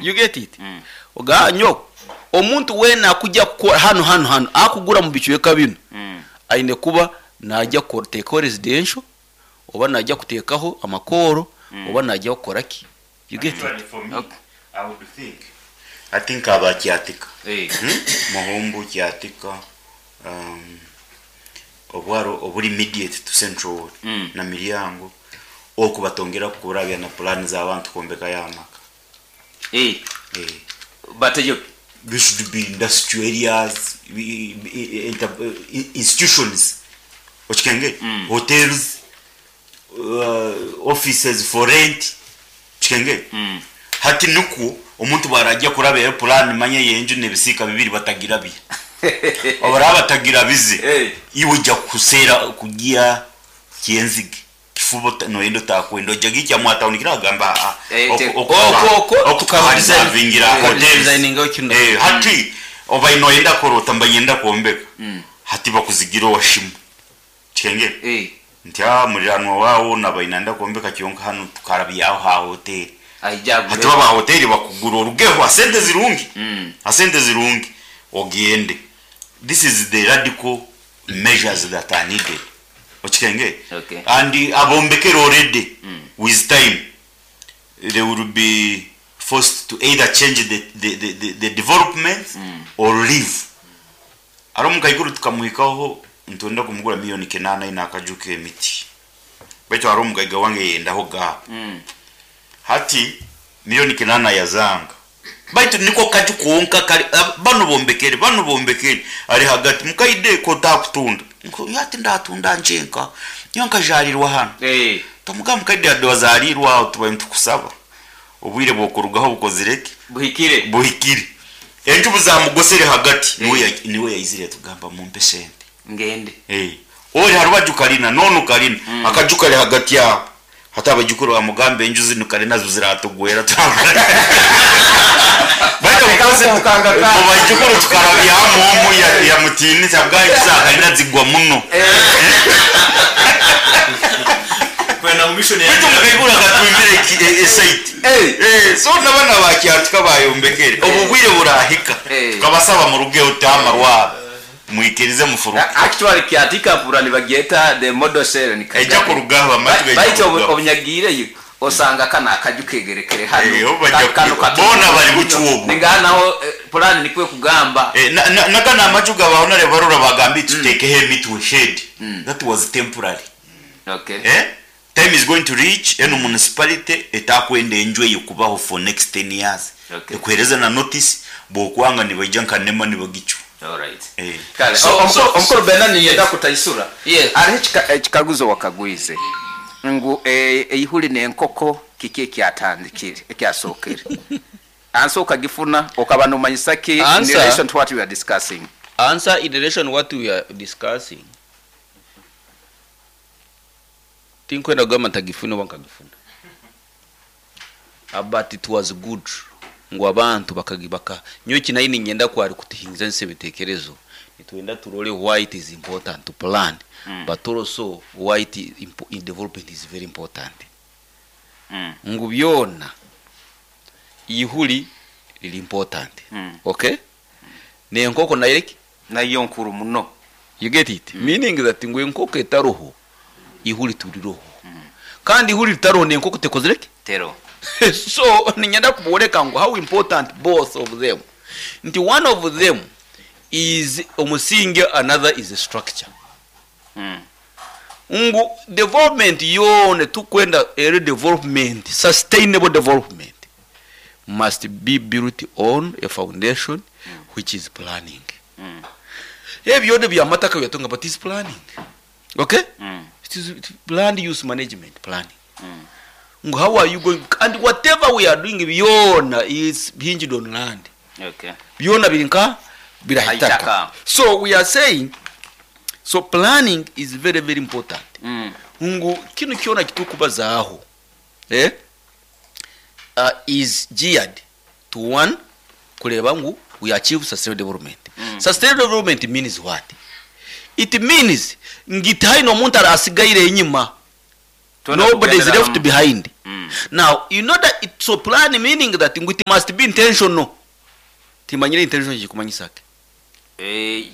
You get it? Oga nyowe omuntu weena akujya kukora hanu hanu hanu akugura omu bicweka binu aine kuba najya kuteekaho residential oba najya kuteekaho amakooro oba najya kukora ki? You get it? Actually for me, I would think, I think aba Kyatika, Muhumbu, Kyatika, um, obwaro oburi immediate to Central Ward na Miryango, oku batongera kurabya na plan z'abantu kwombekayo amaka. Eh, Eh. bateyo There should be industrial areas, institutions, okikengere, hotels, offices for rent, okikengere. Hati nikwo omuntu bwarajya kurabyayo plan manya y'enju n'ebisiika bibiri batagirabya. Obaraba batagirabize, Eh. iwe ojja kuseera kugia kyenzige. Kifuba noyenda otakwenda ojja gikya mwatawuni kiragamba ah, Eh, Oko- oko okuharizavingira hotels. Designingaho kino. Eh, hati oba noyenda korota mba nyenda kwombeka hati bakuzigira owashimu kikengere Eh, nti ah muriranwa wawo naba inenda kwombeka kyonka hanu tukarabyaho ha hoteli aija hati agure. baba hoteli bakugura orugeho asente zirungi asente zirungi ogende. This is the radical measures that are needed, okikenge. Okay. And abombekere already, with time they will be forced to either change the development or leave. Ari omukaikuru tukamuhikaho nitwenda kumugura 8 million aine akaju k'emiti, baitu hari omugaiga wange yendaho gaabo. Hati 8 million yazanga, baitu niko kaju konka kari bano bombekere, bano bombekere ari hagati mukaide kotakutunda. Yati ndatunda njenka nyo nkajarirwa hano. Eh, Tamuga mukaide ade wazarirwa aho tubaye nitukusaba obwire bwokurugaho bukozireke buhikire. Buhikire. Enju buzamugosere hagati niwe yaizire tugamba mumpe sente. Ngende. Eh, ori harubaju karina nonu karina akaju kari hagati yabo, hati abajukuru bamugambe enju zinu karina zo ziratugwera. Bajukuru tukarabyamu omu ya mutinisa bwa enju za karina zigwa muno. Kwenda mu mission. Baitu mukaigura akatwimbire esite. Eh, So nabana bakyatika bayombekere obu bwire burahika. Tukabasaba murugeho tamarwa mwikirize mufuruke. Actually Kyatika pura nibagyeta the model cell ni Ejja kurugaho amatu. Baitu obunyagiireyo osanga kana akaju kegerekere hano. Eh, obu bajja Kano boona bari bucu obu. Ninganaho purani nikwe kugamba. Eh, nagana amaju gabaho nare barora bagambi tutekeho emitwe shade. That was temporary. Eh, time is going to reach eno municipality etakwenda enju eyo kubaho for next 10 years. Ekuhereza na notice bwokwanga nibaija nkanema nibagicu. All right. Eh. Kale, omukuru Bernard niyenda kutaisura. Yes. Hariho ekikaguzo wakagwize ngu eihuri n'enkoko kiki ekyatandikire ekyasookere? Answer okagifuna okaba nomanyisa ki in Answer. relation to what we are discussing? Answer in relation what we are discussing, tinkwenda kugamba ntagifuna oba nkagifuna, but it was good ngu abantu bakagibaka. Nyowe kinayi ninyenda kwari kutuhingiza nse ebitekerezo, nitwenda turole why it is important to plan, but also why it is in development is very important. Ngu byona ihuri riri important. Okay, nenkoko nayo Nayo nkuru muno. You get it? Meaning that ngu enkoko etaroho ihuri turiroho, kandi ihuri ritaroho nenkoko tekozireke. Tero. So ninyenda kuboreka ngu how important both of them, nti one of them is omusingi, another is a structure. Ngu development yona tukwenda eri development, sustainable development must be built on a foundation which is planning. Ebyo byona byamataka byatunga, but is planning, okay? It is land use management planning. Ngu how are you going, and whatever we are doing byona is hinged on land. Byona biri nka birahitaka. Haitaka. So we are saying, so planning is very very important. Ngu kinu kyona kitukubazaaho is geared to one kureba ngu we achieve sustainable development. Sustainable development means what? It means ngu tihaine omuntu arasigaire enyima. Twena Nobody is tugendera left hamwe. behind. Now, you know that it's a plan meaning that ngu it must be intentional. Timanyire intention kikumanyisa ki?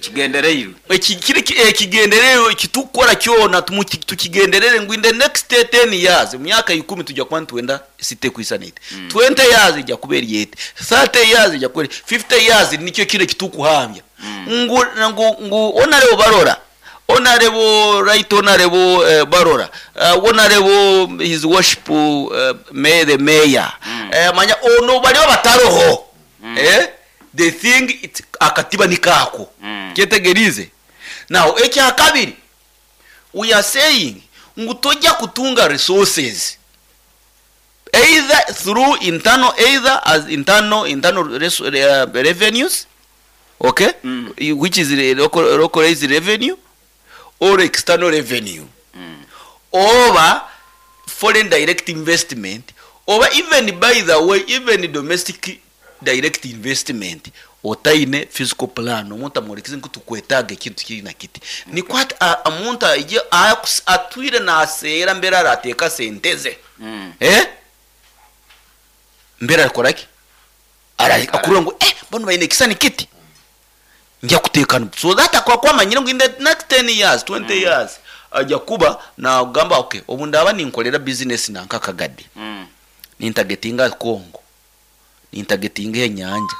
Kigendereirwe. Eki kiri ekigendererwa ekitukukora kyona tukigenderere ngu in the next 10 years, emyaka ikumi tujya kuba nitwenda city kwisana eti. 20 years ejya kuba eri eti. 30 years ejya kuba eri 50 years nikyo kiro ekitukuhambya. Ngu ngu ngu honorable Barora, honorable right honorable Barora, honorable his worship may the mayor. Manya ono bariho bataroho. The thing it akatiba nikako. Kyetegerize. Now ekya kabiri we are saying ngu tojja kutunga resources either through internal, either as internal revenues, okay, which is the localized revenue or external revenue, oba foreign direct investment, oba even, by the way, even domestic direct investment otaine physical plan. Omuntu amworekize ngu tukwetaaga ekintu kiri na kiti, nikwo omuntu aije atwire naseera mbere arateeka sente ze. Mbere arakora ki? Akurora ngu banu baine ekisani kiti, nja kuteekana so that akaba kwamanyire ngu in the next 10 years, 20 years ajya kuba nagamba, okay, obu ndaba ninkorera business nanka akagade, nintargetinga Congo, nintargetinga enyanja,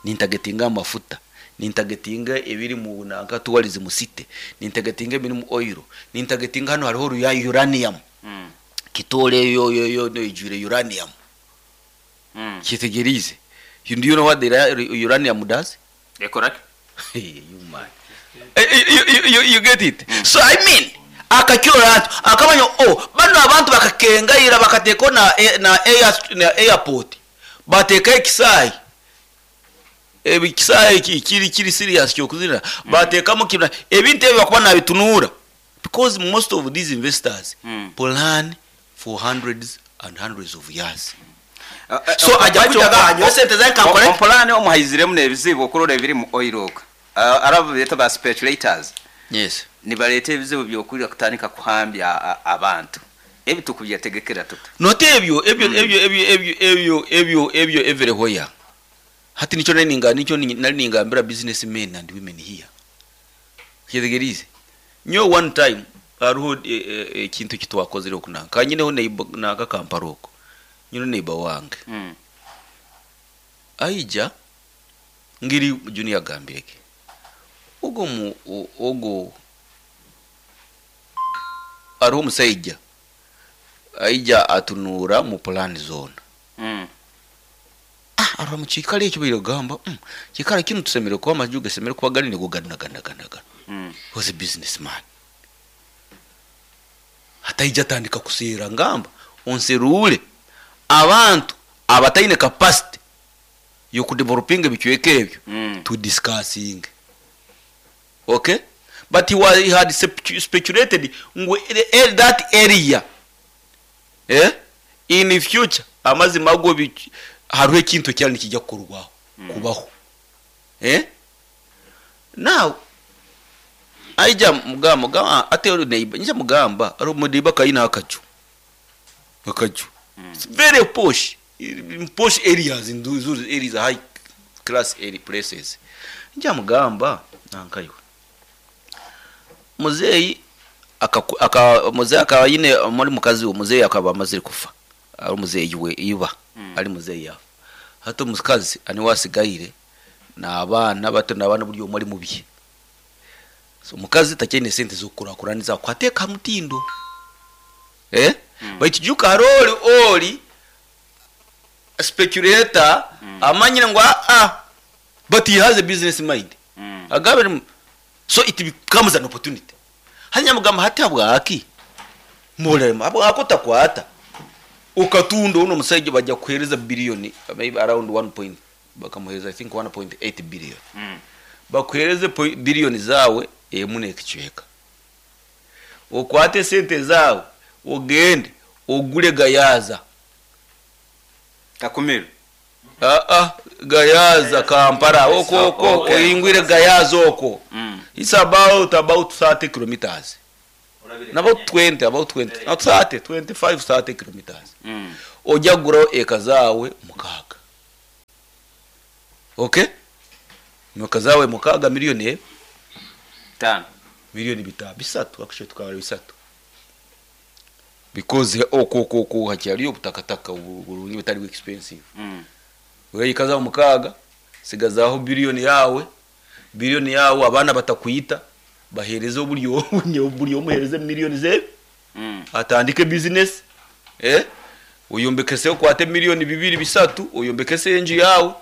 nintargetinga amafuta, nintargetinga ebiri mu nanka tourism city, nintargetinga ebiri mu oil, nintargetinga hano hariho uranium. Kitole yo yo yo no ijwire uranium. Kitegereze. You do you know what the uranium does? Ekora ki? Hey, you man. You get it? So I mean, akakirora ati akamanya, oh, bano abantu bakakengaira bakateeka na airport, bateeka ekisaayi, ekisaayi kiri serious kyokuzira bateekamu kibina ebintu ebyo bakuba nabitunuura, because most of these investors plan for hundreds and hundreds of years. So ajya kujya anywa sente zange kankore. Ompulani omuhaiziremu n'ebizibu okurora ebiri mu oil okwo. Arabo beeta ba speculators. Nibareeta ebizibu byokurira kutandika kuhambya abantu ebi tukubyetegekera tuta? Note ebyo everywhere. Hati nicho nari ninga nicho nari ningambira businessmen and women here. Kyetegerize nyo, one time hariho ekintu kitwakozire okunanka nyineho neighbor nanka Kampala oko, nyine neighbor wange aija ngiri junior agambireke ogo mu ogo hariho omusaija aija atunuura mu plan zone. Ah, arora mu kiikaro ekyo bairagamba, kiikaro kinu tusemere kuba amaju gasemere kuba gari nigo gana gana gana gana. Was a businessman. Hataija atandika kuseera, ngamba onserure abantu abataine capacity yokudevelopinga ebicweka ebyo to discussing, okay? But he had speculated ngu that area, in the future, amazima ago hariho ekintu ekyali nikijja kukorwaho kubaho. Now aija mugamba, mugamba ate ori neighbor, nija mugamba ari omuneighbor kayina akaju. It's very posh, in posh areas, in those areas, high class area places. Nja mugamba nankaiwe muzeeyi aka muzeeyi akaba yine muri mukazi we, muzeeyi akaba amazire kufa, ari muzeeyi we iba ari muzeeyi yafa. Hati omukazi aniwe asigaire n'abaana bato, n'abaana buri omwe ari mubi. So omukazi takyaine sente z'okukurakuraniza kwateeka mutindo, baitu juka hariho ori speculator amanyire ngu ah, but he has a business mind. Agabe so it becomes an opportunity. Hanya mugamba hati habwaki mulema habwako takwata ukatunda uno musajja bajja kuhereza billion, maybe around 1 point, bakamuhereza I think 1.8 billion. Bakuhereze billion zawe emu n'ekicweka, okwate sente zawe ogende ogule Gayaza. Kakumiro. Ah, Gayaza Kampala oko oko. Oyingwire Gayaza oko. It's about 30 kilometers. About 20, about 20, not 30, 25, 30 kilometers. Ojya kuguraho eka zaawe mukaaga. Okay? Eka zaawe mukaaga miliyoni emwe. Tano. Miliyoni bitano, bisatu, actually tukabara bisatu. Because okwo okwo okwo hakyariyo obutakataka burungi butari expensive. Eka zaawe mukaaga, sigazaho biliyoni yaawe, biliyoni yaawe abaana batakuyita, bahereze oburyo buri omwe omuhereze miliyoni ze. Atandike business. Oyombekese okwate miliyoni bibiri bisatu, oyombekese enju yawe.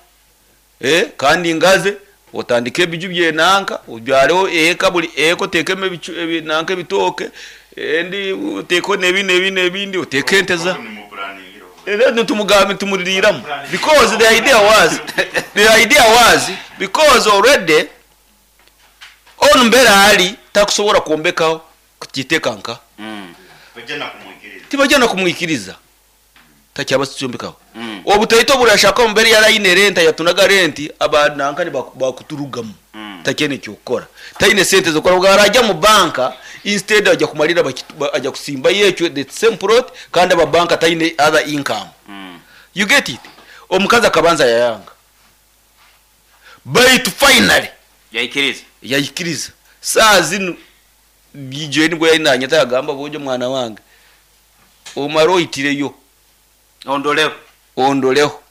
Kandi ngaze otandike ebiju byenanka, obyareho eka buri eka otekemo ebicu ebinanka ebitooke, endi oteko nebi nebi nebindi oteke ente za. Nitumugambe tumuriramu because the idea was because already on mbera ali takusobora kwombekaho kukitekanka. Tibajana kumwikiriza. Takyaba kyombekaho. Obutaito burashaka mbere ya line rent yatunaga rent abananka bakuturugamu. Takyene kyokora. Taine sente zokora bwarajya mu banka instead ajya kumalira ajya kusimba yecyo the same plot kandi aba banka taine other income. You get it? Omukazi akabanza yayanga. But finally yayikiriza. Yayikiriza. Saa zino bijwe nibwo yayinanya tagamba bojo mwana wange. Omaro itireyo. Ondoleho. Ondoleho.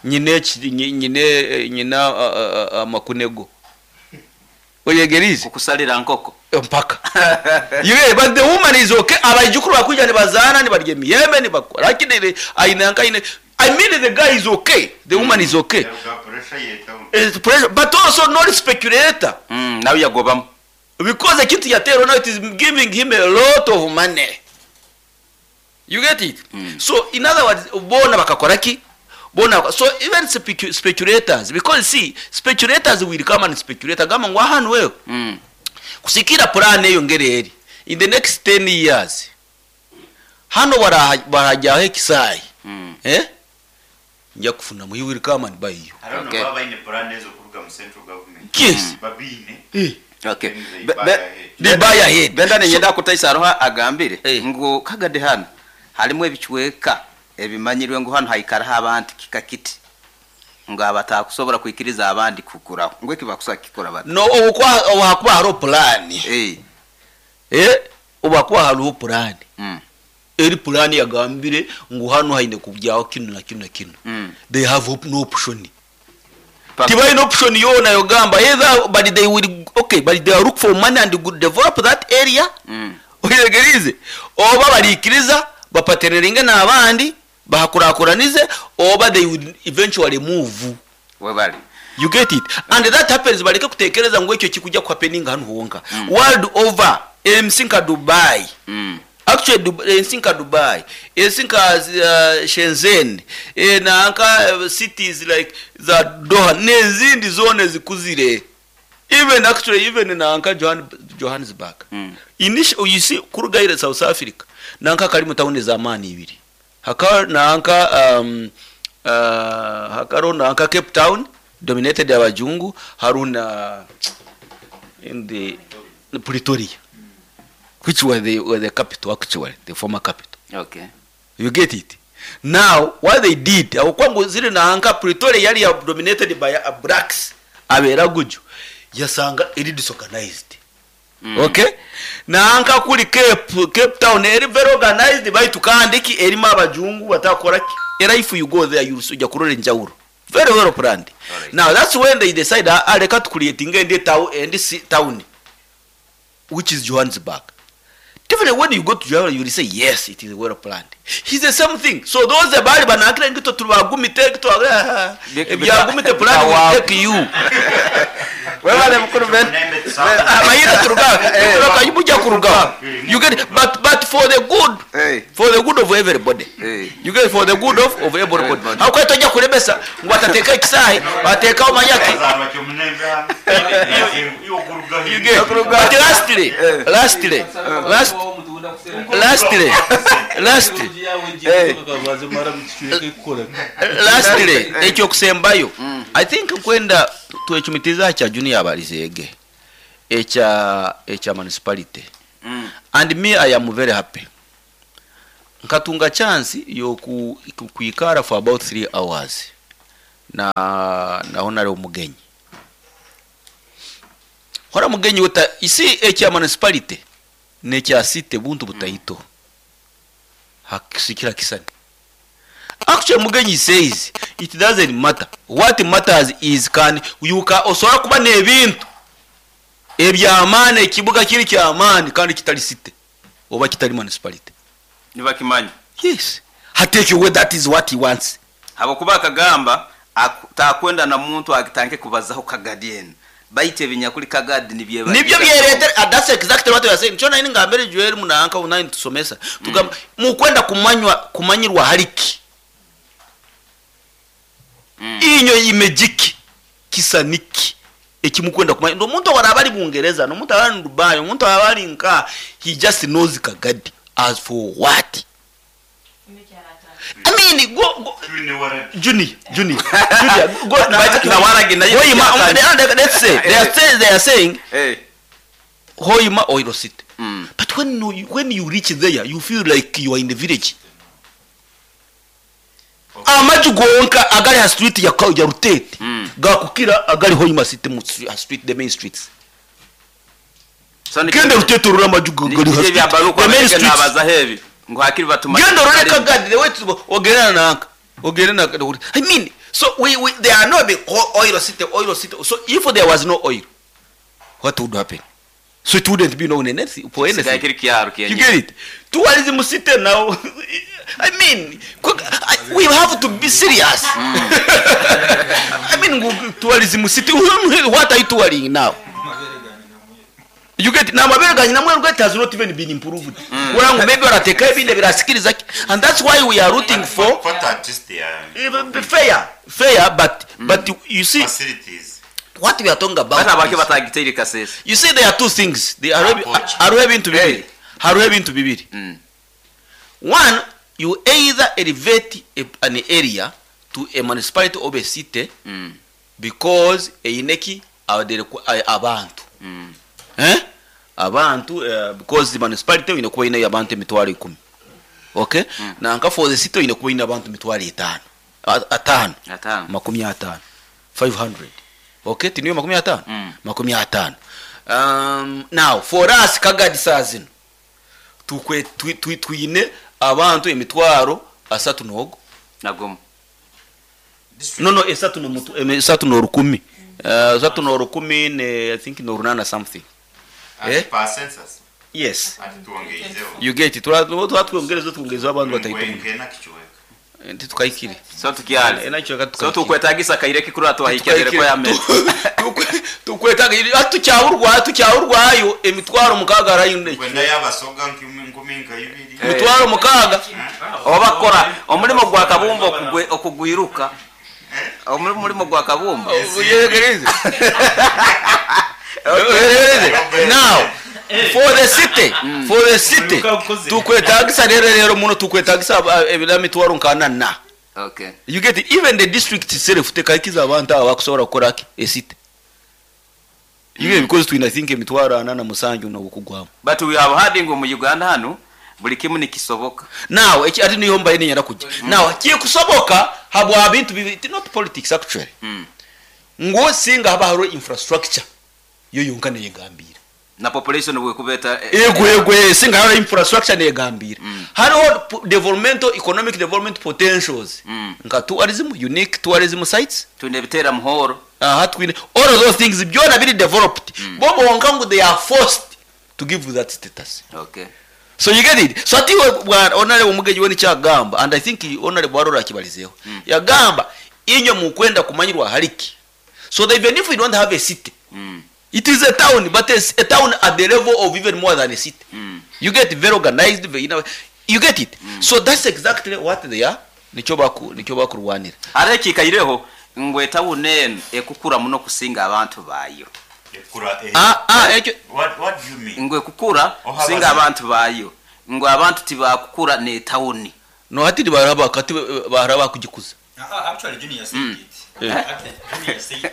Nyine nyine nyina amakunego. Oyegerize kukusalira nkoko mpaka. Yeah, but the woman is okay. Abajukuru bakuja ni bazana ni barye miyembe ni bakora. Lakini ainanka ine I mean the guy is okay. The woman is okay. It's pressure, but also not speculator. Now you go bam. Because the kitu yatero now it is giving him a lot of money. You get it? So in other words, bona bakakora ki? Bona so even speculators, because see, speculators will come and speculate. Agamba ngo hano wewe. Kusikira plan eyo ngereri. In the next 10 years. Hano barajyaho ekisai. Nja kufuna mu will come and buy you. I don't know baba ine plan ezo kuruga mu central government. Yes. Babine. Okay. They buy ahead. Benda ninyenda kutaisa roha agambire ngo kagade hano halimu ebichweka ebimanyirwe ngo hano haikara abantu kikakiti ngo abatakusobora kwikiriza abandi kukuraho ngo ekibakusa kikora bati no obukwa hakuba haro plan obakwa haro plan eri plan yagambire ngo hano haine kubyaho kino na kino na kino. They have no option. Tibaine option yona yogamba either but they will okay but they look for money and good develop that area. Oyegerize oba barikiriza bapateneringe n'abandi bahakurakuranize oba they will eventually move webali. You get it? And that happens bareke kutekereza ngo icyo kikujya ku happening hano honka. World over MC nka Dubai. Actually MC nka Dubai, MC nka Shenzhen, na nka cities like za Doha n'izindi zone zikuzire. Even actually even na nka Johannesburg. Initially you see kurugaire South Africa nanka kali mu town za mani ibiri. Haka nanka hakaro nanka Cape Town dominated abajungu haruna in the Pretoria, which were the capital actually, the former capital. Okay. You get it? Now what they did akwangu zile nanka Pretoria yali dominated by blacks abera guju yasanga iri disorganized. Okay? Nanka kuri Cape Town eri very organized by tukandiki erima abajungu batakora ki. Era if you go there you uja kurore njawuro. Very well planned. Right. Now that's when they decide aleka to create ngende town and town which is Johannesburg. Definitely when you go to Johannesburg you will say yes it is well planned. It's the same thing. So those bali banakira ngito turwagumite ngito byagumite plan will take you. Wewe mukuru ben. Amayira turuga turuga kuruga. You get it? But for the good. For the good of everybody. You get it? For the good of everybody. How kwa toja kurebesa ngo atateka kisahi bateka omanyaki. You get it? But lastly lastly ekyo kusembayo. I think kwenda twechumitiza cha junior abalizege echa municipality. And me I am very happy. Nkatunga chance yoku kwikara for about 3 hours na na Honorable Mugenyi. Hora Mugenyi uta isi ekya municipality nekya city buntu butahito. Hakisikira kisani. Actually Mugenyi says it doesn't matter. What matters is can you ka osobola kuba n'ebintu ebyamaani, ekibuga kiri kyamaani kandi kitali city oba kitali municipality. Nibakimanya. Yes. Hatekyo that is what he wants. Habwokuba akagamba takwenda na muntu agitanke kubazaho Kagadi enu. Baitu ebinyakuli Kagadi nibyo nibyo byeretera. That's exactly what we are saying. Chona ini ngambere Joel munanka unani tusomesa. Tugamba mukwenda kumanywa kumanyirwa hariki. Inyo imejiki kisaniki ekimukwenda kumanya. Ndo muntu warabali Bungereza, no muntu abali Dubai, muntu abali nka, he just knows Kagadi. As for what? I mean, go Junior, Junior, Junior, go. Na waragi na Hoima, let's say they are saying hey. Hoima Oil City. But when you reach there, you feel like you are in the village. Okay. Amaju gonka agali ha street ya ya Rutete. Gakukira agali Hoima City mu street, the main streets. So Genda Rutete rura amaju gali ha street. The main streets. Nabaza heavy. Ngo hakiri batuma. Genda rure Kagadi the way to ogerana nanka. Ogerana na I mean, so we there are no big oil city, oil city. So if there was no oil, what would happen? So it wouldn't be known anything for anything. You get it? Tourism city now. I mean, we have to be serious. I mean, tourism city. What are you touring now? You get it? Now, it has not even been improved. Maybe and that's why we are rooting for what artists they are. Even fair, but but you see facilities. What we are talking about. Is, you see, there are two things. They are having to be. One, you either elevate an area to a municipality or a city because eineki abantu. Eh? Abantu because the municipality inakuwa ina abantu emitwaro 10. Okay? Na nka for the city inakuwa ina abantu mitwaro 5. Atano. 50. 500. Okay, tiniyo 50? 50. Now for us Kagadi sazino tukwe twine abantu emitwaro 3 nogo. Nagomo. No 3 no mutu 3 no 10. 3 no 10 ne I think no 8 something. Eh? Per census. Yes. You get it. Twatuongereza tuongereza abantu batahita. Tukaikire. So tukiale. So tukwetagisa kaireki kuri atwahikire ko yameze. Tukwetaga atucyahurwa tucyahurwayo emitwaro mukaga arayine. Kwenda yabasoga nkuminka ibiri. Emitwaro mukaga. Obakora omulimo gwa Kabumba okugwiruka. Omulimo gwa Kabumba. Yegereze. Now for the city, for the city tukwetagisa rero muno tukwetagisa emitwaro nkana na. Okay. You get it? Even the district itself tekakiza abantu abakusobola kukola a city. You get it? Because twina think emitwaro 47 no kugwamu. But we have had ngo mu Uganda hano buli kimu nikisoboka. Now ati niyo mbaye ninyara kujya. Now kikusoboka habwa bintu not politics actually. Ngo singa haba haro infrastructure yo yonka neyegambira. Na population we kubeta ego singa haro infrastructure neyegambira. Hariho developmental economic development potentials. Nka tourism, unique tourism sites. Twine bitera muhoro. Twine all of those things byona biri developed. Bobo wonka ngo they are forced to give that status. Okay. So you get it? So ati honorable Mugenyi we nikyagamba and I think honorable Arora akibalizeho. Yagamba inyo mukwenda kumanyirwa hariki. So that even if we don't have a city, it is a town, but it's a town at the level of even more than a city. You get very organized, you know, you get it. So that's exactly what they are. Nicho bakurwanira. Areki kaireho ngwe town eno ekukura muno kusinga abantu bayo. Ekura what do you mean? Ngwe kukura kusinga abantu bayo. Ngwe abantu tibakukura ne town. No hati baraba kati baraba kugikuza. Actually Junior said it. Actually Junior said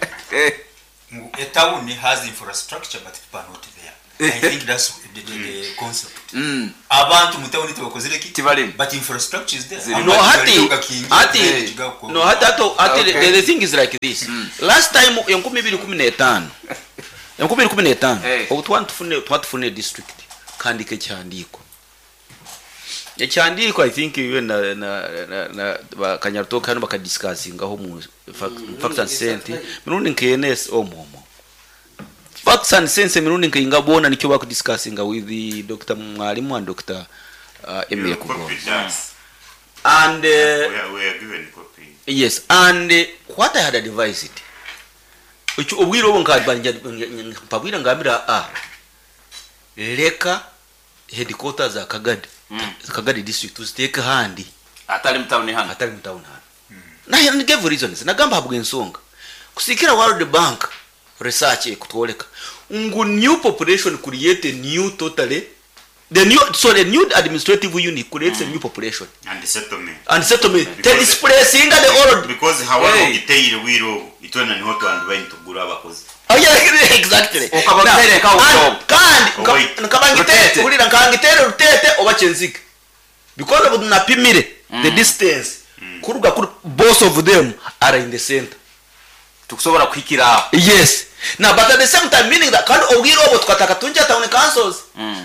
a town has infrastructure but people are not there. I think that's the, the, the concept. Abantu mu town tibakozire ki? Tibarimu. But infrastructure is there. Zirimu. No, Abantu hati bariyo gakingi, hati gakwa- no hati hati hati Okay. the, the thing is like this. Last time 2015 2015 Eh. obu twatufune twatufune district kandika ekihandiiko ekihandiiko I think iwe na na na, na bakanyarutoka hano bakadiscussingaho mu facts and sense mirundi nkenes omo facts and sense emirundi nkeinga boona nikyo bakudiscussinga with the Dr. Mwalimu and Dr. Emile Copy Kugonza that. and We are given copy. Yes, and what I had advised ekyo obwire obwo mpabwire ngambira a leka headquarters za Kagadi Kagadi district tuziteeke handi atari mu town hano atari mu town hano naye mm. Gave reasons nagamba habwa ensonga kusikira World Bank research ekutwoleka ngu new population create a new totally the new so the new administrative unit creates a new population And settlement. And settlement Because- displacing the old. Because hawa Hey. ogiteire bwire obu itwena niho twandibaine tugura abakozi. Oh, yeah, exactly. Ukaba Now, utereka and- ubudobo. kandi Wait. nkabangite Rutete. hulira nkangitere rutete oba kyenzige because of napimire the distance kuruga kuri both of them are in the center. Tukusobora kuhikira aho. Yes, now but at the same time meaning that kandi obwire obwo tukataka tunja town councils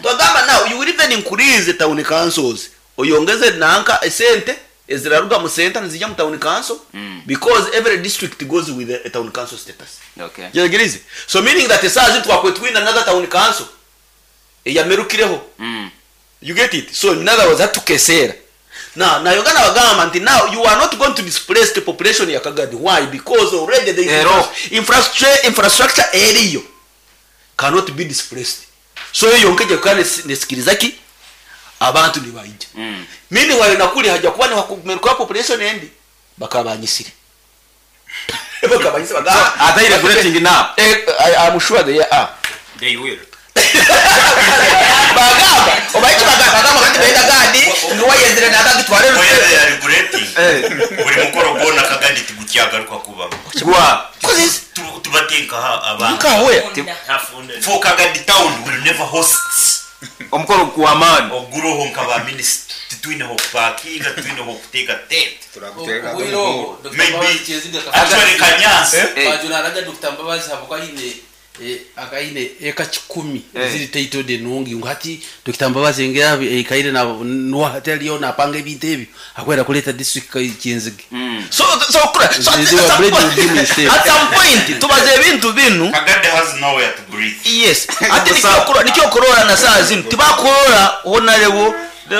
twagamba now you will even increase the town councils oyongeze nanka esente eziraruga mu center nizijya mu town council because every district goes with a town council status. Okay. Yegirize. So meaning that esazi twakwetwina another town council eyamerukireho. You get it? So in other words hatukesera. Now nayongana bagamba nti now you are not going to displace the population ya Kagadi. Why? Because already the Ero. infrastructure eriyo cannot be displaced. So eyo nkeje kandi nesikiriza ki abantu nibaija. Mimi wale nakuli haja kuba ni hakumeruka population endi bakabanyisire. Bakabanyisire bagamba. Are they regulating now? I'm sure they are. They will. Bagamba obaiki bagamba kati benda gadi niwayenzire nakagitware. Oya, they are regulating. Eh. Buri mukoro gwona Kagadi tigukyagaruka kubaho. Gwa. Tubatenkaho abantu. Nkawe For Kagadi town will never host Omukoro gw'amaani. oguroho nkaba minisita titwineho kupakinga titwineho kuteeka tent. Maybe actually Kanyasi. Bajunaraga Dr. Mbabazi habwa aine akaine eka 10 ziri titled enungi ngu hati Dr. Mbabazi engera ekaire na nuwa hati aliyo napanga ebintu ebyo akwera kuleta district Kyenzige. So kura so at, They were some blaming point, him instead. at some point tubaze ebintu binu. Kagadi has nowhere to breathe. Yes, ati nikyo kurora na saa zinu tibakurora honorable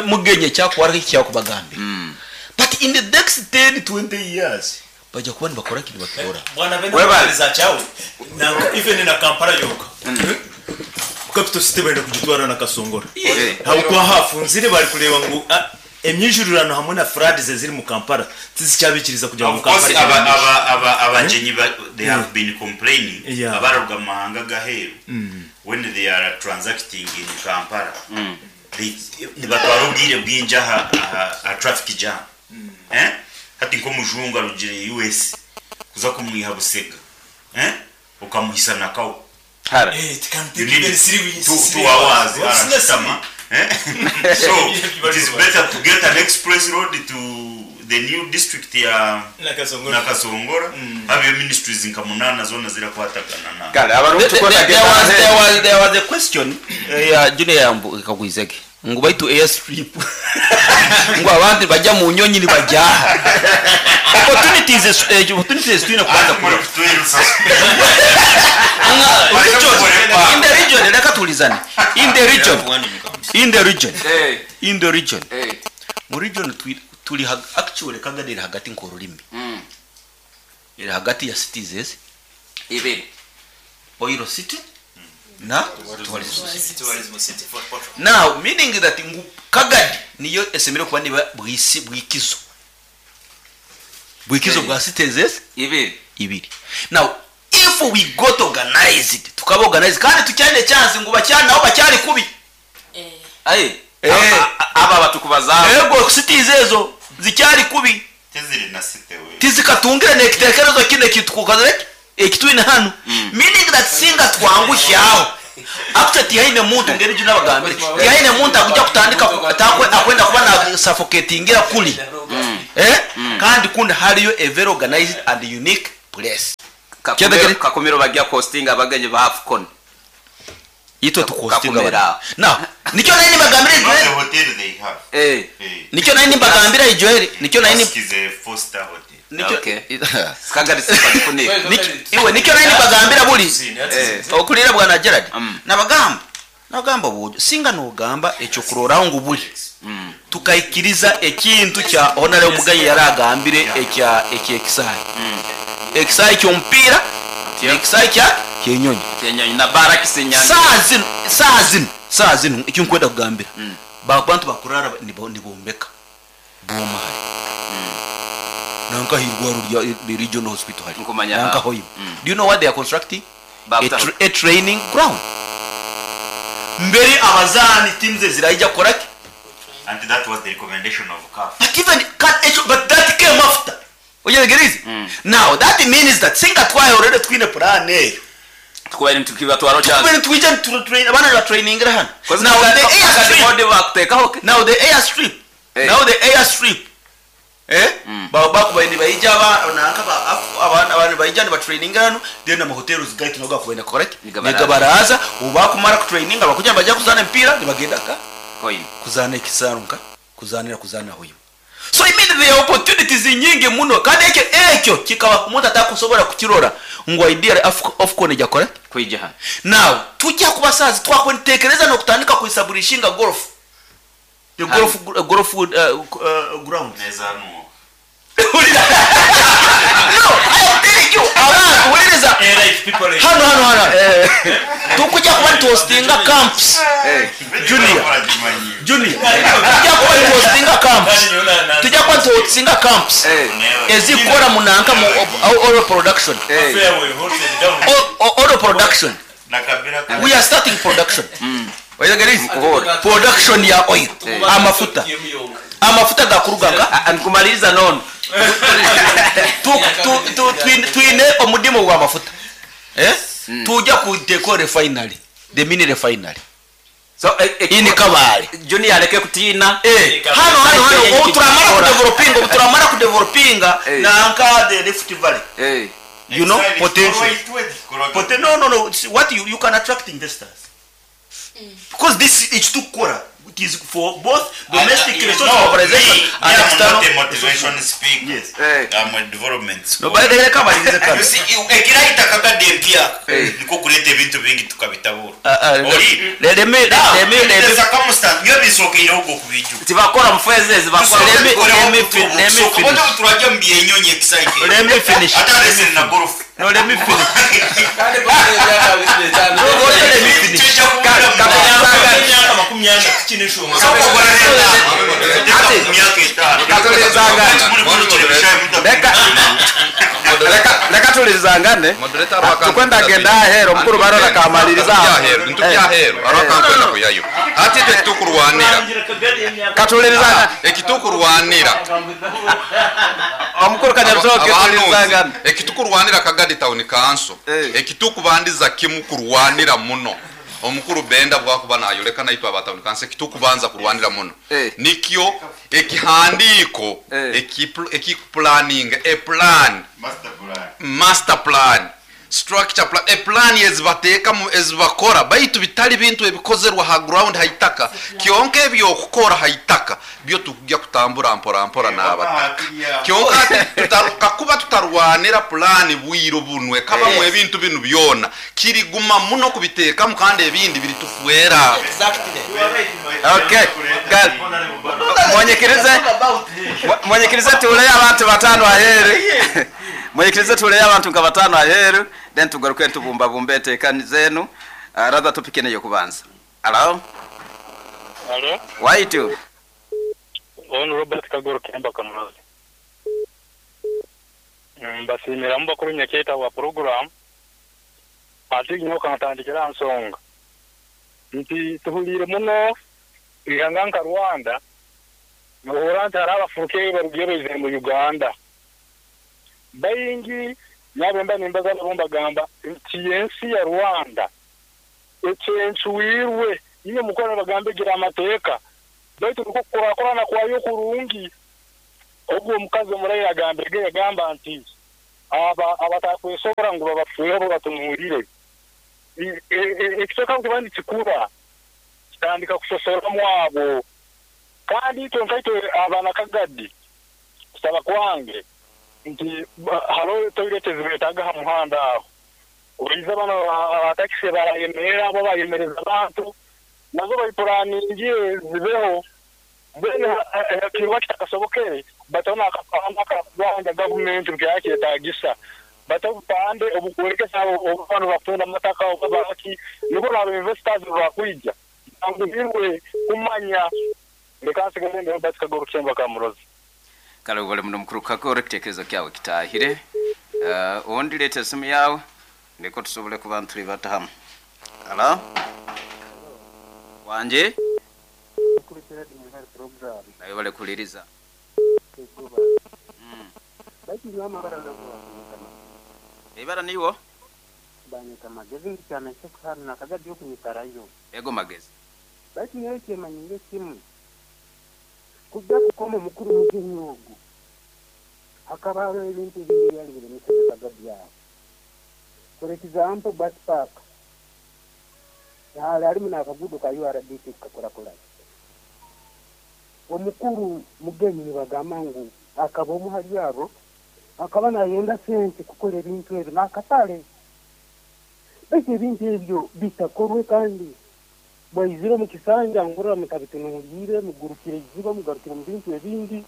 mugenye kyakwara kyakubagambira but in the next 10 20 years bajya kuba nibakora kintu bakora. Bwana benda Webale. za chawo. Na even na Kampala yoka. Capital City benda kugitwara na Kasongora. Eh. Habwo hafunzire bari kureba ngo emyijururano hamwe na frauds ziri mu Kampala tizicyabikiriza kugira ngo Of course Kampala aba aba abagenyi they have been complaining Yeah. abaruga mu mahanga gaheru when they are transacting in Kampala they nibatwara obwire bwingi aha aha traffic jam eh hati nk'omujungu arugire US kuza kumwiha Busega eh ukamuhisa nakawo. Hara. Eh, it can You take need even 3 weeks. 2 hours arashitama eh? So it is better to get an express road to the new district ya Nakasongora. Nakasongora have your ministries nka munana zona zirakwatagana na Kale abarungu There, tukona there, was, there, was, there was a question ya junior yambu ikagwizege ngo baitu airstrip ngo abantu bajya mu nyonyi nibajyaha opportunities opportunities twine kubanza Muri kurora kutwirusa. In the region reka tulizane in the region in the region Eh. in the region Eh. mu region turi actually Kagadi iri hagati nk'ururimi iri hagati ya cities ezi Ibiri. Oil City na Tourism City. Now meaning that ngu Kagadi niyo esemere kuba niba bwisi bwikizo bwikizo bwa cities ezi Ibiri. ibiri. Now if we got organized tukaba organized kandi tucyane chance ngo bacyane nabo bacyari kubi. Aye. Eh. Aba batukubazaho. Ego cities ezo zicyari kubi. Teziri na site we. Tizikatungire nekitekerezo kine kitukukaze ekitwine hano meaning that singa twangushyaho. Actually tihaine muntu ngeri egi nabagambire, tihaine muntu akuja kutandika ku- akwenda kuba na suffocatingira kuri eh kandi kundi hariyo a very organized and unique place. Kakumiro, Kakumiro bajya kuhostinga abagenyi ba AFCON. Itwe tukuhostinga Kakumiro aho. Now, nikyo nari nibagambira Not the Joel. hotel they have. Eh. Eh. Nikyo nari nibagambira Joel, nikyo nari Ask is a four-star hotel. nikyo Okay. Sikagari sipagifunike. Iwe nikyo nari nibagambira buri. Eh. Okulira bwana Gerard. Nabagamba. Nabagamba bujo singa nogamba ekyo kuroraho ngu buri. Tukaikiriza ekintu kya Honorable Mugayi yaragambire ekya ekyekisayi. Ekisayi ky'omupiira, ekisayi kya kyenyonyi. Kyenyonyi na barracks Nyange. Saa zino, saa zino, saa zino ekyo nkwenda kugambira. Abantu bakurara nibombeka. Boma hari. Nanka hirwaru rya the regional hospital hari. Nkumanya Nanka aho. hoima. Do you know what they are constructing? Bapta- A training ground. Mbere abazani teams ziraija koraki. And that was the recommendation of CAF. But even but that came after. Oyegereze. Now that means that singa twaye already twine plan eyo. Tukubaire nitukibatwara chance. Twine twija tu train abana ba training hano. Now the airstrip bakutekaho ke. Now the airstrip. Eh. Now the airstrip. Eh? Ba bakubaye nibaija aba nanka ba abana abantu baija ni ba training hano then ama hotels gait noga kubaina correct. Nigabaraza. Nigabaraza ubakumara ku training abakuja baja kuzana mpira nibagenda ka Coin. kuzana ekisarunka kuzanira kuzana hoyo. So I mean the opportunities nyingi muno kandi ekyo ekyo kikaba omuntu atakusobora kukirora ngu idea AFCON ejya correct. Kwija hano. Now tujya kuba sazi twakwentekereza no kutandika kuisaburishinga golf. The golf golf ground. Neza nuwo. No, I am telling you, abantu wuliriza hano hano hano. Tukujya kuba tuhostinga camps. Junior. Junior. Tujya kuba tuhostinga camps. Tujya kuba tuhostinga camps. Ezikora munanka mu oil production. Oil production. We are starting production. Production ya oil. Amafuta. Amafuta gakurugaga. Nkumaliriza nono. Twine omudimo gwa mafuta. Tujya ku deco refinery. The mini refinery. So in Kabale. Junior aleke kutina. Hano hano hano ubu turamara ku developinga, ubu turamara ku developinga nanka the Rift Valley. You know potential. But no no no, what you can attract investors. Because this it's too kora. It is for both domestic resource mobilization and external. I'm not a motivation speaker. Yes. I'm a development No, but they come and You see, ekiraita kakadde empya niko kuleta ebintu bingi tukabitabura. Oli. Let me let me let me circumstance byo bisookeire ogwo kubiju. Tibakora mufeze zibakora. Let me let me let me finish. Turajya mu byenyonyi excited. Let me finish. Ata listen na golf. No, let me finish. No, let me finish. Reka tulizangane tukwenda genda ahero mukuru barora kamaliriza ntubyahero arakankwenda kuyayo ati icyo kitukurwanira katuliriza ekitukurwanira omukuru kanyarusoke tulizangane ekitukurwanira Kagadi Town Council ekitukubandiza kimu kurwanira muno omukuru Benda bwakuba nayoleka naitwe aba Town Council ekitukubanza kurwanira muno nikyo ekihandiiko ekiplanning a plan master plan structure plan a plan ezibateeka ezibakora baitu bitali bintu ebikozerwa ha ground haitaka kyonka ebyokukora haitaka byo tujya kutambura mpora mpora n'abataka kyonka kakuba tutarwanira plan bwiro bunwe kabamu ebintu binu byona kiriguma muno kubiteekamu kandi ebindi biritufuera. Okay, good. Mwonyekerize tuleyo abantu batano aheru. Mwonyekerize tuleyo abantu nka batano aheru then tugaruke tubumba bumbe enteekani zenu. Rather topic eno yokubanza. Hello? Hello? Waitu. On Robert Kagoro Kemba Kamurozi. Mbasimira mubakuru nyaketa wa program. Ati nyoka natandikira nsonga. Nti tuhulire muno ihanga nka Rwanda. Muhura nti hari abafuruke barugiye beze mu Uganda. Bayingi nabemba nimbaza nabomba gamba nti ensi ya Rwanda Ekyencwirwe, inywe mukora nibagamba egira amateeka, baitu nikwo kukurakurana kwayo kurungi. Ogu omukazi omurahi agambirege yagamba nti, Aba abatakwesobora ngu babafeeho babatunuulire. Ekicweka obu kiba nikikura, kitandika kusosoramu abo. Kandi itwe nkaitwe abanakagadi, kusaba kwange nti haroho toilet ezibetaaga ha muhanda aho. Oize banu aba takisi barayemerra abo abayemereza abantu, nazo baipuraaningire zibeho. Mbwenu ekikorwa kitakasobokere, bataho n'akapande akarikuganja gavumenti buri kyayetagisa. Bate obupande oburikworekesa obu banu bakutunda amataka oba baki, nibwo naaba investors obu bakwija banguhirwe kumanya. Leka nsigale ndi Robert Kagoro Kihembo Kamurozi. Kale webale muno mukuru Kagoro ekitekerezo kyawe kitahire. Ondi leeta esimu yawe ndeko tusobole kuba nitulibata hamu. Halo? Wangi? Mukuru Gerard mwebale program. Nawe webale kuhuliriza. Egoba. Baitu nyowe amabara nago banyeta Magezi. Eibara niiwo? Banyeta Magezi ndi kyana ky'okuhanu nakagadi okunyikarayo. Ego Magezi. Baitu nyowe kyemanyire kimu. Kujja kukoma omukuru mugenyi ogu. Hakaba hariho ebintu ebindi ebyali biremeseze kagadi aho. For example, bus park. Hali harimu n'akaguudo ka URDP kukakurakurana. Omukuru mugenyi nibagamba ngu akaba omu hali abo akaba nayenda sente kukora ebintu ebyo n'akatale. Baitu ebintu ebyo bitakorwe kandi bwaizire omu kisanja ngurira mutabitunuliire, mugurukire iziba, mugarukire mu bintu ebindi.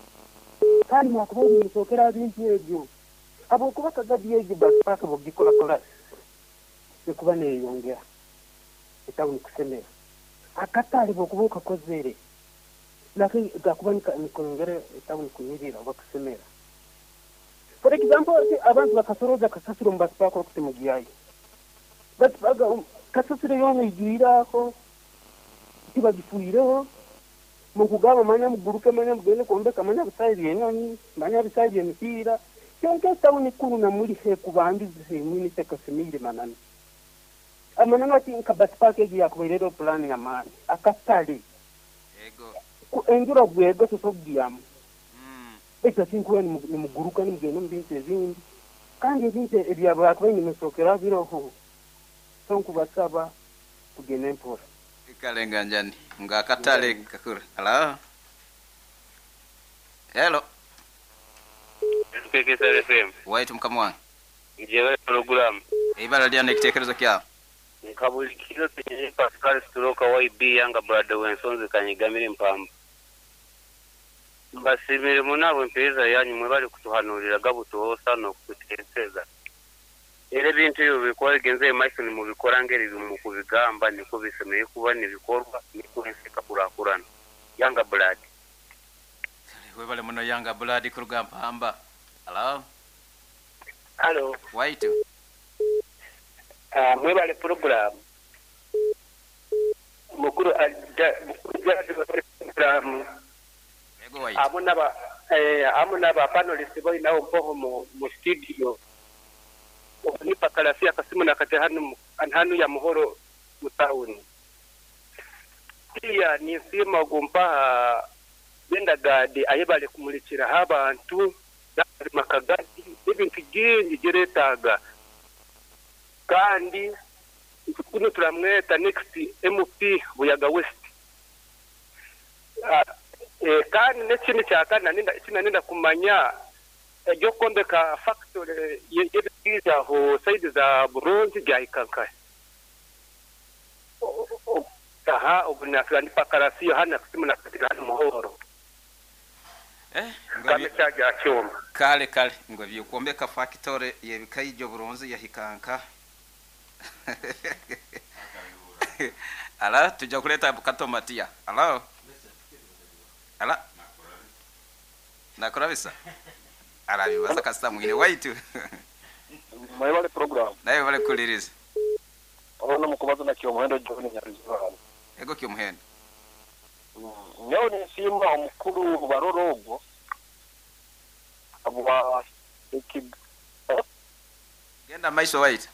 Kandi mwakubaire nimusookera aha bintu ebyo. Habwokuba kagadi egyo bus park bwogikorakora ekuba neyeyongera etawuni kusemera. Akatale bwokuba okakozere nako gakuba nikongera etawuni kunyirira oba kusemera. For example, abantu bakasoroza kasasiro omu bus park oku timugyayo. Bus park kasasiro yoona eijwire aho, tibagifuireho. Mukugamba manya muguruke manya mugende kwombeka manya bisaayi by'enyonyi, manya bisaayi by'emipiira. Kyonka etawuni kunu namuri hekubandize henyini tekasemiire mananu. Amananu ati nka bus park egi yakubaire eriho pulaani y'amaani. Akatale. Enjura bwegwa tosobola kugyamu. Baitu ati nkuba nimuguruka nimugenda omu bintu ebindi. Kandi ebintu ebyabakubaire nimusookeraho biroho. So nkubasaba tugende mpora. Kale nganjani nga akatale kakura. Hello? Hello? KKSR FM. Waitu mukama wange. Njebale program. Eibara lyana ekitekerezo kyawe. Nka buli kiro tunyine Pascal Stroke YB Yanga Brother w'ensonzi kanyigamire mpamba. Mbasimire muno abo empeereza yanyu mwebale kutuhanurira gabutoosa n'okututeeseza. Era ebintu ebyo bikuba bigenze omu maiso nimubikora ngeri mukubigamba nikwo bisemeriire kuba nibikorwa nikwo ensi ekakurakurana. Yanga Blood. Kale webale muno Yanga Blood kuruga Mpamba. Hello? Hello. Waitu. Mwebale program. Mukuru mukuru webale program. Ego waitu. Amu naba panelists boinaho mpoho mu studio. Nipa kalafia kasimu na kate hanu ya muhoro mutauni. Pia nisima gumpa benda gadi ayebale kumulikira abantu makagadi ebintu byingi geretaga. Kandi kuno turamweta next MP Buyaga West. Kandi n'ekindi kyakana ninda kumanya ebyo kombeka factory y'ebiza ho side za Burundi byahikanka. Aha obunafira ni pakarasiyo hana kusimu na katika muhoro. Kame cyaja cyoma. Kale kale ngo byokombeka factory y'ebikaijo Burundi yahikanka. Ala tujja kuleta katomatia. Ala. Ala. Nakurabisa. Arabibaza kasita mwine waitu. Mwebale program. Naye bale kuliriza. Ono mukubaza na Kyomuhendo John Nyaruziba. Ego Kyomuhendo. Nyawo nisimba omukuru baroro ogwo. Abwa Genda maiso waitu.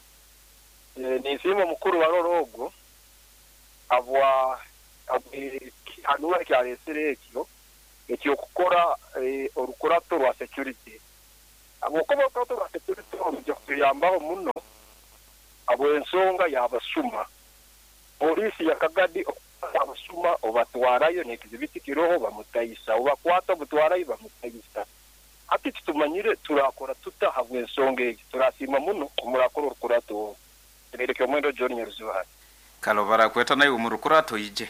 Nisimba omukuru baroro ogwo. Habwa habw'ekihanuura eki areetsire ekyo eky'okukora orukurato rwa security. Habw'okuba orukurato rwa security oru rwija kutuyambaho muno habw'ensonga y'abasuma. Poliisi ya Kagadi okukwata abasuma obatwarayo n'ekizibiti kiroho bamutaisa, obakwata obutwarayo bamutaisa. Hati titumanyire turakora tuta habw'ensonga egi. Turasiima muno ku murakora orukurato oru. Tereire Kyomwendo John Nyaruzibahari. Kale obu barakweta naiwe omu rukurato oije.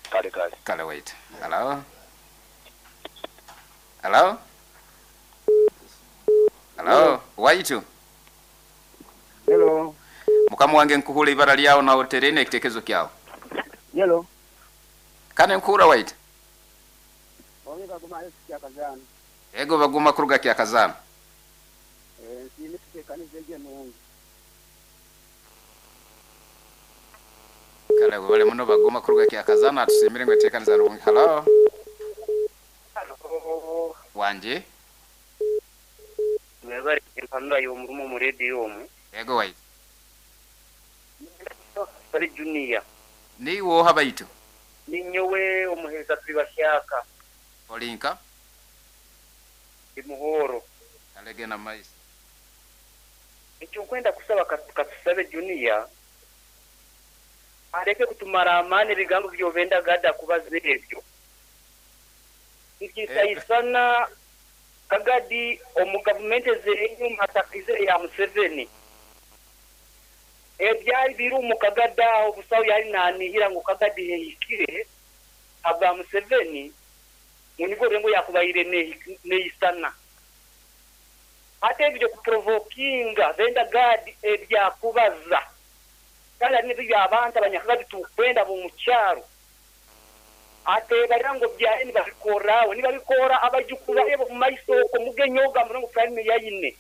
Kale kale. Kale waitu. Hello? Hello? Hello? Waitu? Hello. Mukama wange nkuhura ibara lyawe nawe otereine ekitekerezo kyawe. Hello. Kane nkuhura waitu. Obe Baguma Alex Kyakazaana. Ego Baguma kuruga Kyakazaana. Nsiime etekaniza egyo enungi. Kale webale muno Baguma kuruga Kyakazaana atusiimire ngu etekaniza nungi. Hello. Halo. Wangi. Mwebare empanura y'omurimo omu rediyo omu. Ego waitu. Niinyenda kusaba Kasare Junior. Niiwe oha baitu? Ninyowe omuheereza turi bahyaka. Ori nka? Ndi Muhoro. Kale genda mu maiso. Ekyo nkwenda kusaba Katusabe Junior areke kutumara amaani ebigambo by'obenda gada kubaza ebyo. Nikyisaisana Kagadi omu gavumenti ez'enyuma atakaizire eya Museveni. Ebyali biri omu Kagadi aho busaho yali nanihira ngu Kagadi hehikire habwa Museveni ngu nibwo orurengo yakubaire neisana. Hati ebyo by'okuprovokinga Benda Gad ebyakubaza kandi hari n'ebyo abantu abanyakagadi tukwenda ab'omukyaro atebarira ngu byaye nibabikorra aho nibabikora abaijukuru baye b'omumaiso okwo mugenyi ogu amurore ngu prime yaine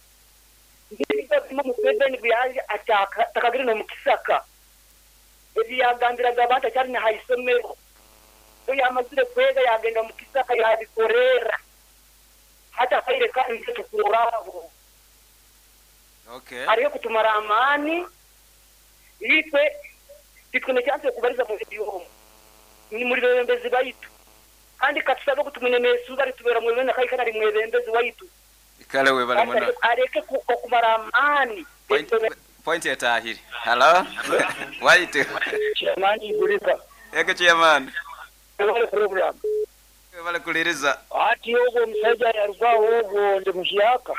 nibyo bimwe Museveni buyali atakagire n'omukisaka ebi yagambiraga abantu akyali na haisomero so yamazire kwega yagenda omukisaka yabikorerra hati akaire kanu nitwe tukurorraho Okay. Hariho kutumara amaani itwe titwine chance yokubariza mu rediyo omu ni muri bebembezi baitu kandi katusabe ogu tumwine nesuubi aritubera mwebembezi nakahika ari mwebembezi waitu Kale webale kandi muno. areke okumara amaani. Point, point etahire. Hello? Waitu. Chairman Igurika. Ego chairman. Webale program. Webale kuliriza. Ati ogwo omusaija yarugaho ogwo ndi muhyaka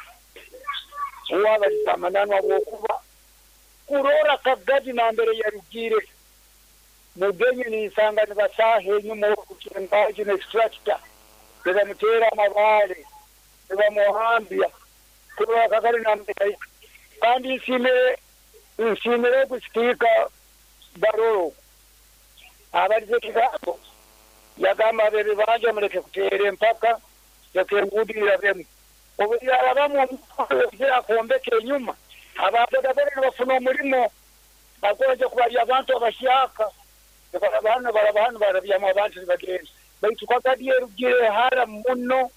owabaliza amananu habwokuba kurora Kagadi nambere yarugire mugenyi ninsanga nibasaha enyuma okukyengaji n'extractor nibamuteera amabaale nibamuhambya kurora Kagadi nambere kandi nsiimire nsiimire ogu sipiika Barolo ogu abalize ekigambo yagamba ab'ebibanja muleke kuteera empaka leka enguudo irabemu obu yarabamu omuntu akombeka enyuma aba bodaboda nibafuna omurimo bagonza kubarya abantu abahyaka nibaraba hanu baraba hanu barabyamu abantu nibagenda baitu Kagadi erugire hara muno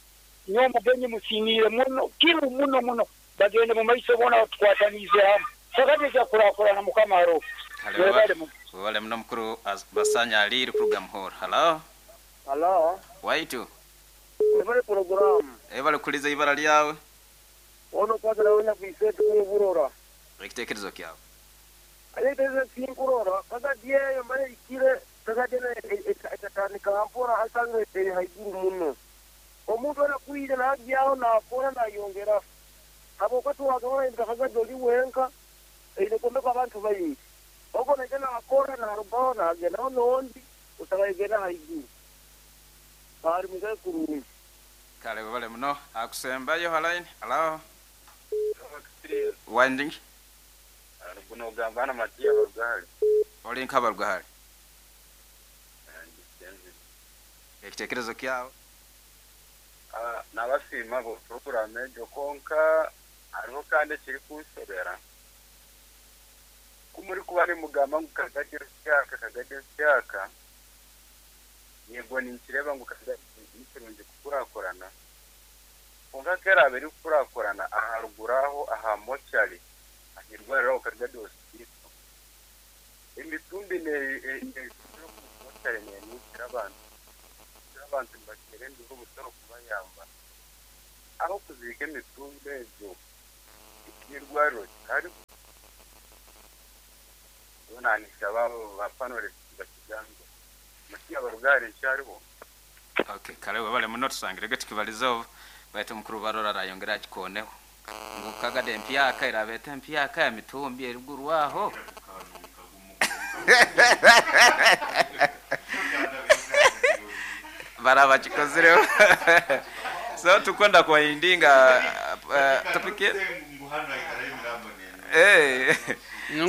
nyowe omugenyi musiimiire muno kiru muno muno bagende mu maiso boona batukwataniize hamu Kagadi eja kukurakurana Mukama aroho. Kale Webale muno. webale muno mukuru Basanya Aliri kuruga Muhoro. Hello. Hello. Waitu. Webale program. Webale kuliza ibara lyawe. Ono kwanza nawe nyakwise tukuburora. Ekitekerezo kyawe. Ekitekerezo kinkurora Kagadi eyo mbaye ikire Kagadi etatandika mpora asanga eri haiguru muno. Omuntu anakwire nagyaho nakora nayongera. Habwokuba twagabana Kagadi oli wenka eine kombeka abantu baingi. Ogo naija nakora narugaho nagendaho n'ondi osanga egenda haiguru. Bari mugaye kurungi. Kale webale muno akusembayo halaini. Hello. Wanding. Guno ogamba na Matiya Barugahari. Oli nka Barugahari. Ekitekerezo kyawe. Nabasiima bo program egyo konka hariho kandi ekiri kunshobera. Ku muri kuba nimugamba ngu Kagadi rusyaka Kagadi rusyaka yego ninkireba ngu Kagadi ni kirungi kukurakurana konka keraaba erikukurakurana aharuguru aho aha mochari ahirwariro Kagadi hospital. Emitumbi nejumbira omu mochari nenuukira abantu. Abantu nibateera enduru obutoro kubayamba. Ah'okuziika emitumbi egyo eky'eirwariro kikariho? Nyowe nanishaba abo ba panelists bakigambeho. Muti abarugari nkyariho? Okay, kare webale muno tusangirege tukibaliza obu baitu omukuru Barora arayongera akikooneho ngu Kagadi empyaka eraaba eta empyaka ya mitumbi erigurwaho. Baraba bakikozireho. So tukwenda kuwindinga topic Eh.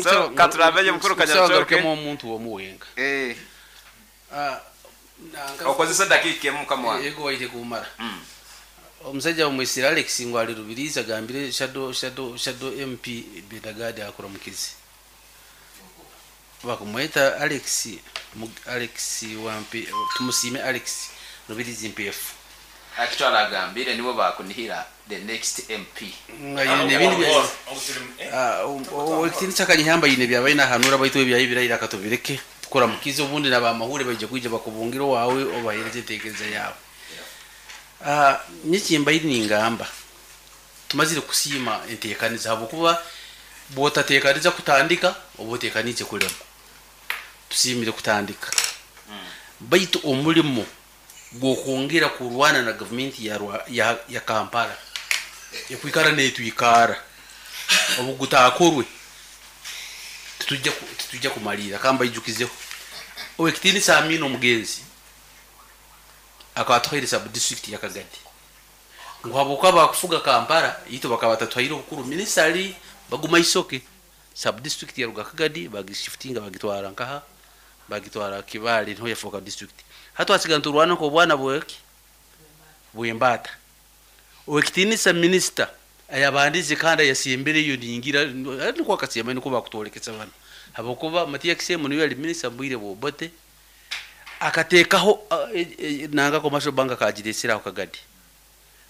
So katurabeyo mukuru Kanyarucoke. Omuntu omu wenka. Eh. Okozesa edakika emu mukama wange. Ego waite kumara. Omusajja omwisire Alex ngu ali Rubirizi agambire shadow shadow shadow MP Bendagadi akuramukize. Bakumweta Alex Alex wampi tumusiime Alex Rubirizi Mpeefu. Actually agambire nibo bakunihira the next MP. Owekitiinisa Kanyihamba aine ebi abaire nahanuura baitu ebyaye ebirahire akatubireke tukuramukize obundi na bamahuure baija kwija bakubungire owaawe obaheereze enteekereza yaawe. Nyowe ekimbaire ningamba tumazire kusiima enteekaniza ahabw'okuba bwotateekaniza kutandika oba oteekaniize kulemwa. Tusiimire kutandika baitu omurimo gw'okwongera kurwana na gavumenti ya ya Kampala ekwikara netwikaara obu gutakorwe titujja titujja kumariira. Kambaijukizeho Owekitiinisa Amin Omugenzi akaba atuhaire sub district ya Kagadi ngu habwokuba bakufuga Kampala itwe bakaba batatuhaire obukuru minisitale baguma Isoke sub district yaruga Kagadi bagishifutinga bagitwara nkaha bagitwara Kibaale niho yafooka district. Hati twasigara niturwana nk'obwana bweki bw'embaata. Owekitiinisa minisita ayabandize kandi ayasembereyo ningira nikwo akasembayo nikwo bakutworekesa banu habwokuba Matia Kisembo niwe yali minisita mubwire bwa Obote akateekaho nanga commercial bank akagireesera aho Kagadi.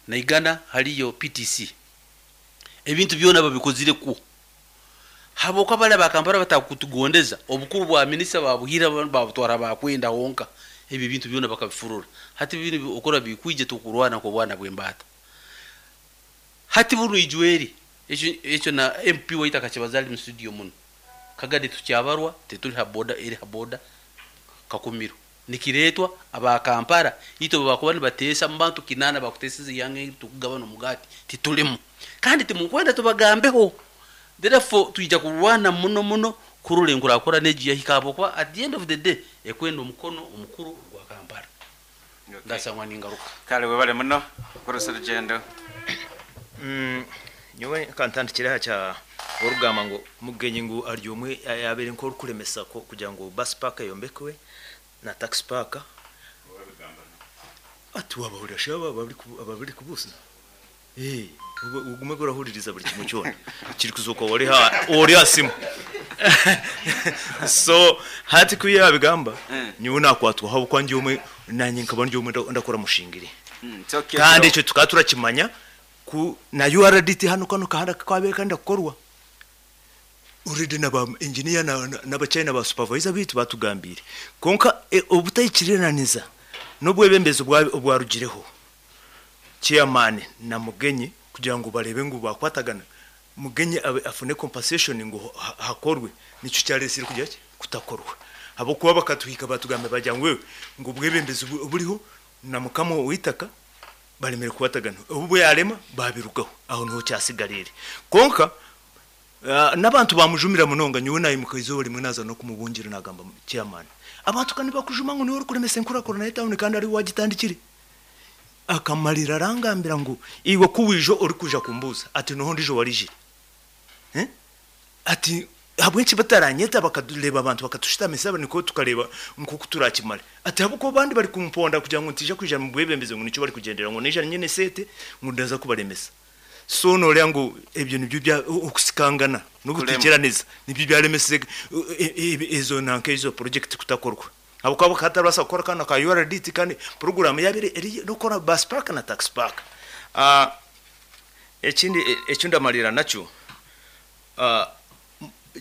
Naigana hariyo PTC. Ebintu byona babikozire kwo. Habwokuba bari aba Kampala batakutugondeza, obukuru bwa minisita babuhiire babutwara bakwenda honka. Ebi ebintu byona bakabifurura. Hati binu okurora bikwija tukurwana nk'obwana bw'embaata. Hati bunu ijweri, ekyo ekyo na MP waitu akakibaza ali mu studio muno. Kagadi tukyabarwa tituri ha boda eri ha boda Kakumiro. Nikireetwa aba Kampala itwe obu bakuba nibateesa mu bantu kinaana bakuteeseza eihanga eri tukugabana omugaati titurimu. Kandi timukwenda tubagambeho. Therefore twija kurwana muno muno kurora enkurakurana egi yahika ahabw'okuba at the end of the day ekwenda omukono omukuru gwa Kampala. Ndasangwa ningaruka. Kale webale muno Mukuru Serugendo. Nyowe kantandikire aha kya orikugamba ngu Mugenyi ngu ari omwe ayabaire nk'orikuremesa kugira ngu bus park eyombekwe na taxi park. Ati wabahurira shi abo abarikubuuza? Ogume orahuririza buri kimwe kyona kirikuzooka ori aha simu. So hati ku yaabigamba nyowe naakwatwaho ahabw'okuba ndi omwe naanye nkaba ndi omwe ndakora mushingire. Kandi ekyo tukaba turakimanya ku na URDT hanu kanu kahanda ku kabaire karenda kukorwa already na ba engineer n'abachina ba supervisor baitu baatugambiire. Kwonka obutaikiriraniza n'obwebembezi obwarugireho chairman na Mugenyi kugira ngu bareebe ngu baakwatagana, Mugenyi afune compensation ngu hakorwe nikyo kyareetsire kugira ki? Kutakorwa. Ahabw'okuba bakatuhika baatugambira baagira ngu ngu obwebembezi oburiho na mukama w'eitaka baremire kukwatagana. Obu bwarema baabirugaho aho niho kyasigariire. Kwonka n'abantu baamujumira munonga nyowe naimuka eizooba rimwe naaza n'okumubungira naagamba chairman abantu ka nibakujuma ngu niiwe orikuremesa enkurakurana y'etauni kandi ariiwe waagitandikire. Akamarira arangambira ngu iwe ku waija orikwija kumbuuza ati noha ondiijo owaraijire? Ati ahabw'enki bataranyeta bakareeba abantu bakatushutamisa nikwo tukareeba nk'oku turakimare? Ati ahabw'okuba abandi bari kumponda kugira ngu ntaija kwija omu bwebembezi ngu nikyo barikugyendera ngu naija nyine esente ngu ndaza kubaremesa. So nooreeba ngu ebyo nibyo bya okusikangana n'obutaikiranisa nibyo byaremesize ezo nanka ezo project kutakorwa. Ahabw'okuba bakaba batarabaasa kukora kanu aka URDT kandi puroguraamu yaabaire eri n'okukora bus park na taxi park. Ekindi eki ndamariira nakyo,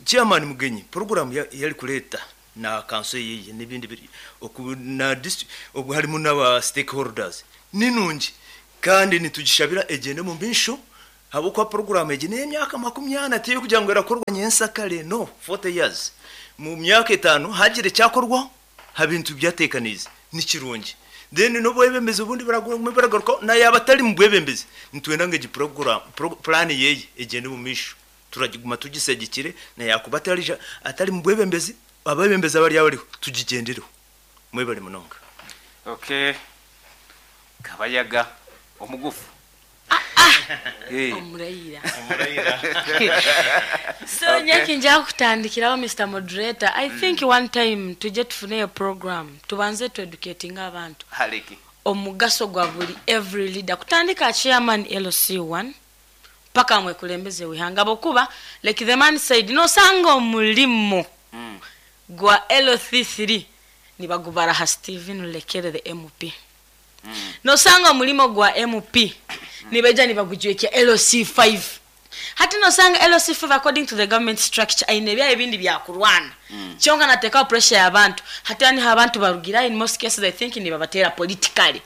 Chairman Mugenyi program yari kureeta na kanso yeye n'ebindi biri oku na district obu harimu n'aba stakeholders ni nungi kandi nitugishabira egyende omu maisho ahabw'okuba program egi n'ey'emyaka 40 tiy'okugira ngu erakorwa nyensakare no 40 years mu myaka etaano hagira ekyakorwaho ha bintu byateekaniize ni kirungi then n'obwebembezi obundi buraguma buragarukaho na yaaba atari mu bwebembezi nitwenda ngu egi program plan yeye egyende omu maisho turagiguma tugisegikire na yaakuba atarija atari mu bwebembezi abebembezi abari abariho tugigyendereho. Mwebare munonga. Okay. Kabayaga omugufu. Omurayira. So nyeki nja kutandikiraho Mr. Moderator. I think one time tujye tufuneyo program tubanze tu educating abantu. Hariki. Omugaso gwa buri every leader kutandika chairman LC1 paka mwekulembeze wihanga bokuba like the man said nosanga omulimo gwa LC3 nibagubara ha Stephen Lekere the MP. Nosanga omulimo gwa MP nibeja nibagujwekya LC5. Hati nosanga LC5 according to the government structure aine bya ebindi bya kurwana. Kyonka nateka pressure y'abantu. Hati ani abantu barugira in most cases I think nibabatera politically.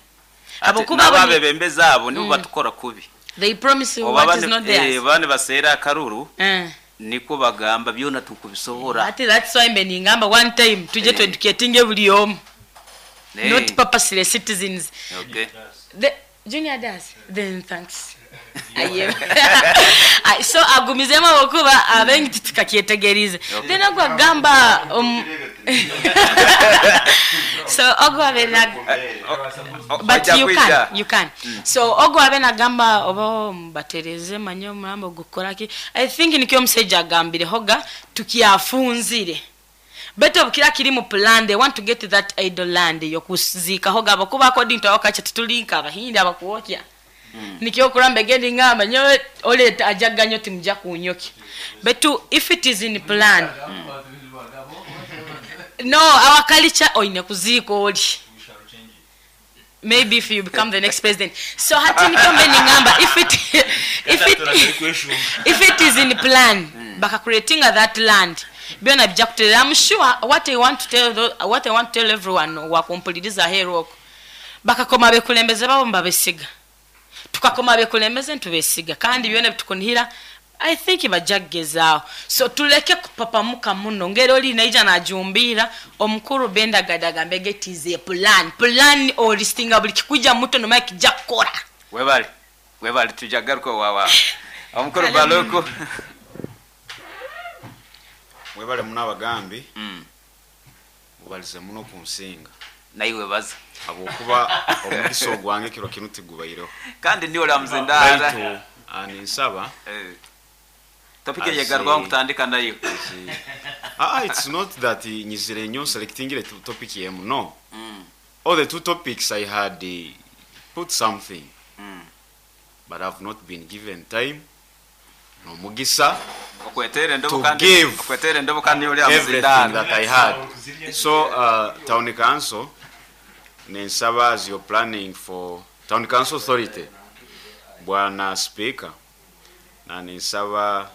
Abo kuba babebembeza abo nibo batukora kubi. They promise you what is not theirs. Bane basera akaruru. Niko bagamba byona tukubisohora. Ati that's why mbe ningamba one time tuje to educating buli omu. Not purposely citizens. Okay. The junior does. Then thanks. So agumizemu abakuba abengi tutakyetegerize. Then agwa so ogwa bena but you can. So ogwa bena gamba oba mbatereze manyo murambo gukoraki. I think nikyo omusajja agambire hoga tukiafunzire. Beto bukira kiri mu plan they want to get to that idle land yokuzika hoga abakuba according to our culture tulinka abahindi abakuokya. Nikyo kuramba gendi ngamba nyowe oleta ajaganyo timja kunyoki. But if it is in plan. No, our culture oine kuziko oli. Maybe if you become the next president. So hati nikyo mbe ngamba if it is in plan baka creating that land. Byona bijja kuterera. I'm sure what I want to tell everyone wakumpuliriza hero bakakoma bekulembeze babo mbabesiga. Tukakoma bekulembeze ntubesiga kandi byona bitukunihira I think bajagezaawo. So tuleke kupapamuka muno ngero oli naija najumbira omukuru Benda Gadaga mbege it is a plan olistinga buli kikuja muto no mike jakora. Webale tujagaruka wawa omukuru Baloko. Webale muno abagambi. Mubalize muno ku nsinga. Naiwe baza. Abokuba omugisa ogwange kiro kinu tigubaireho. Kandi ndiyo la mzindara. Ani nsaba. Topike yegarwa kutandika nayo. It's not that nyizire nyo selecting the topic yemu no. All the two topics I had put something. But I've not been given time. No mugisa. To give everything that I had. So town council nensaba as you're planning for town council authority bwana speaker na nensaba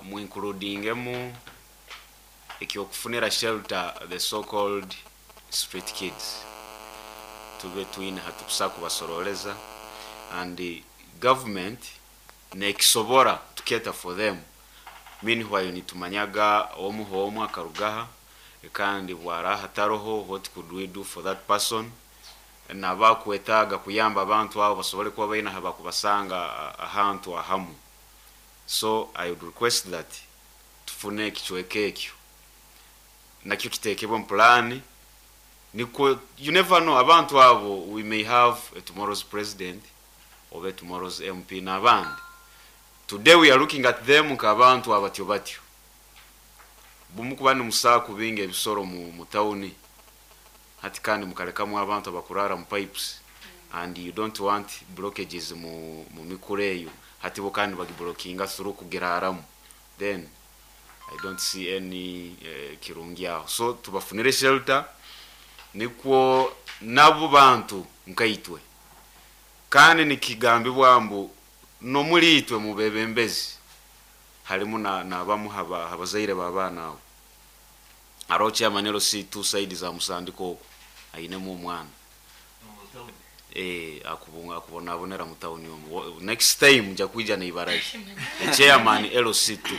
mu includingemu ekyokufunira shelter the so called street kids tube twine hatukusa kubasoroleza and the government nekisobora to cater for them. Meanwhile nitumanyaga omu homu akarugaha kandi bwaraha taroho what could we do for that person nabakwetaga kuyamba abantu abo basobole kuba baina habakubasanga ahantu ahamu. So I would request that tufune ekichweke ekyo nakyo kitekebwe mu plan niko you never know abantu abo we may have a tomorrow's president or a tomorrow's MP n'abandi. Today we are looking at them nkabantu abatyo batyo. Bumukuba ni musaku binge ebisoro mu town. Hati kandi mukalekamu abantu abakurara mu pipes and you don't want blockages mu mikureyo. Hati bo kandi bagiblockinga through kugeraramu. Then I don't see any kirungi aho. So tubafunire shelter nikwo nabo bantu nkaitwe. Kandi nikigambibwa mbu no muri itwe mubebembezi. Harimu na nabamu haba habazaire b'abaana abo. Hariho chairman LC2 side za Musandiko okwo ainemu omwana. Eh, akubunga akubonabonera mu town omu. Next time nja kwija na ibara rye. The chairman LC2.